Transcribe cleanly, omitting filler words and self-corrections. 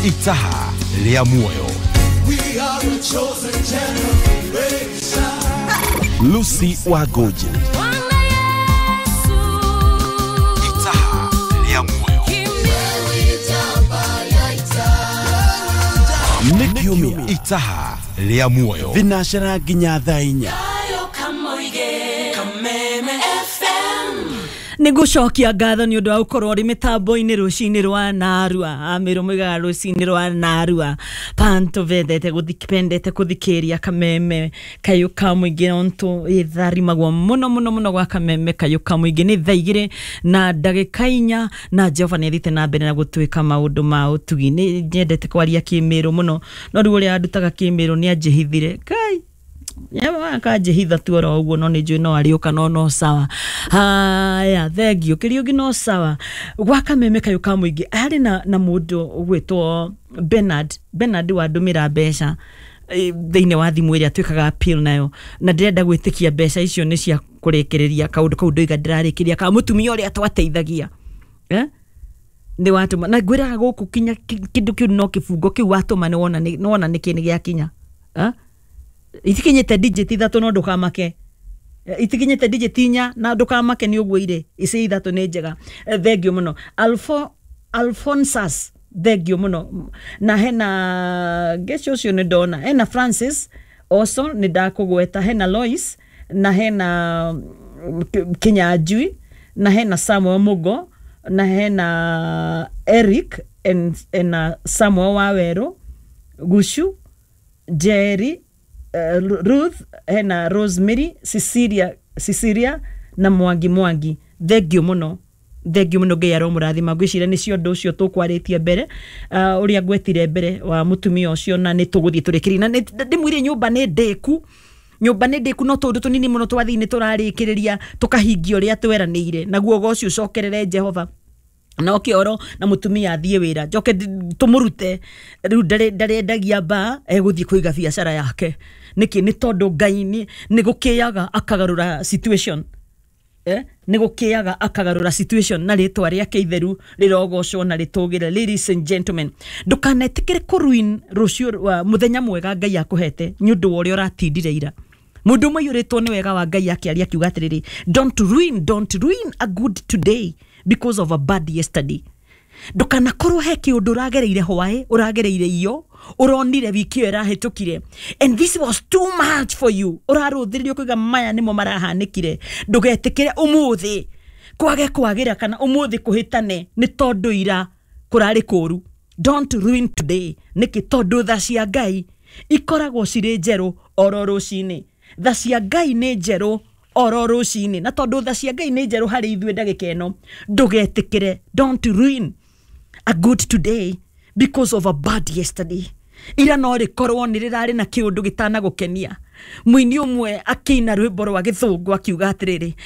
Itaha rĩa muoyo. We are a chosen generation. Lucy Wangũnjĩ. Itaha rĩa muoyo. Nĩ kiumia. Itaha rĩa muoyo. Thinacara nginya thaa 4. Nä ngå cokia ngatho nä å ndå wa gå korwo rä mä tambo-inä rå cinä rwa narua. Amä rå moigaga rå cinä rwa narua panto vendete pendete kå thikä ria Kameme Kayå ka må ingä ontå ĩtharimagwo må no må no må no gwa Kameme Kayå ka må ingä. Nä thaa 2 na ndagä 4 na Jehova nä athiĩte na mbere na gå twä ka maå ndå ma å tugi. Nä nyendete kwaria kä mä rå må no, no rä u å rä a andutaga kä mä rå nä anjähithire Ngai akanjĩhitha tu oro ũguo, no nĩ njũĩ no arĩũka, no no sawa. Haya, thengio kĩriũngĩ, no sawa. Gwa Kameme Kayũ ka mũingĩ harĩ na mũndũ ũgwĩtwo Bernard. Bernard wandũmĩra mbeca thĩinĩ wa thimũ ĩrĩa twĩkaga appeal nayo, na ndĩrenda gwĩtĩkia mbeca icio nĩ cia kũrĩkĩrĩria kaũndũ kau ndoiga ndĩrarĩkĩria ka mũtumia ũrĩa twateithagia, eh? Nĩ watũma na ngwĩraga gũkũ kinya kĩndũ kĩu no kĩbungo kĩu watũma nĩ wona nĩkĩ nĩ gĩakinya. Eh? Itikinyĩte digit 3 no ndũkamake. Itikinyĩte digit 4 na ndũkamake nĩ ũguo irĩ ici 3 nĩ njega. Thengio mũno Alphonsus, thengio mũno. Na hena ngeci ũcio nĩ ndona, hena Francis also nĩ ndakũgweta, hena Lois na hena Kinyanjui na hena Samuel Mugo na hena Eric and Samuel Wawerũ Gucu Jerry, Ruth, hena Rosemary, Cecilia, Cecilia na Mwangi Mwangi. Thengio mũno, thengio mũno, Ngai aromũrathima. Ngwĩciria nĩcio ũndũ ũcio tũkwarĩtie mbere, ũrĩa ngwetire mbere wa mũtumia ũcio, na nĩ tũgũthiĩ tũrĩkĩrie na ndĩmwĩre nyũmba nĩ ndĩku, nyũmba nĩ ndĩku, no tũndũ tũnini mũno twathiĩ nĩ tũrarĩkĩrĩria tũkahingia ũrĩa tweranĩire naguo ũgo ũcio ũcokerere Jehova na oke oro na mutumia athiĩ wĩra njoke tũmũrute rĩu ndarendagia mbaa, egũthiĩ kũiga biacara yake. Nĩkĩ? Nĩ tondũ Ngai nĩ gũkĩaga akagarũra situation, eh? Nĩ gũkĩaga akagarũra situation na rĩtwa rĩake itheru rĩrogocwo na rĩtũgĩre. Ladies and gentlemen, ndũkanetĩkĩre kũruin rũciũ wa mũthenya mwega Ngai akũhete nĩ ũndũ wa ũrĩa ũratindire ira. Mũndũ ũmwe aiyũrĩtwo nĩ wega wa Ngai akĩaria akiuga atĩrĩrĩ, "Don't ruin, don't ruin a good today because of a bad yesterday." Ndũkanakorwo he kĩũndũ ũragereire hwaĩ, ũragereire iyo ũronire wiki ĩyo ĩrahĩtũkire, and this was too much for you, ũrarũthĩrĩrio kũiga maya nĩmo marahanĩkire. Ndũgetĩkĩre ũmũthĩ kwage kwagĩra kana ũmũthĩ kũhĩtane nĩ tondũ ira kũrarĩ kũru. Don't ruin today. Nĩkĩ? Tondũ tha cia Ngai ikoragwo cirĩ njerũ oro rũcinĩ. Tha cia Ngai nĩ njerũ oro rũcinĩ, na tondũ tha cia Ngai nĩ njerũ harĩ ithuĩ ndagĩka ĩno, ndũgetĩkĩre, don't ruin a good today because of a bad yesterday. Ira no rĩkorwo nĩ rĩrarĩ na kĩũndũ gĩtanagũkenia. Mũini ũmwe akĩina rwĩmbo rwa gĩthũngũ akiuga atĩrĩrĩ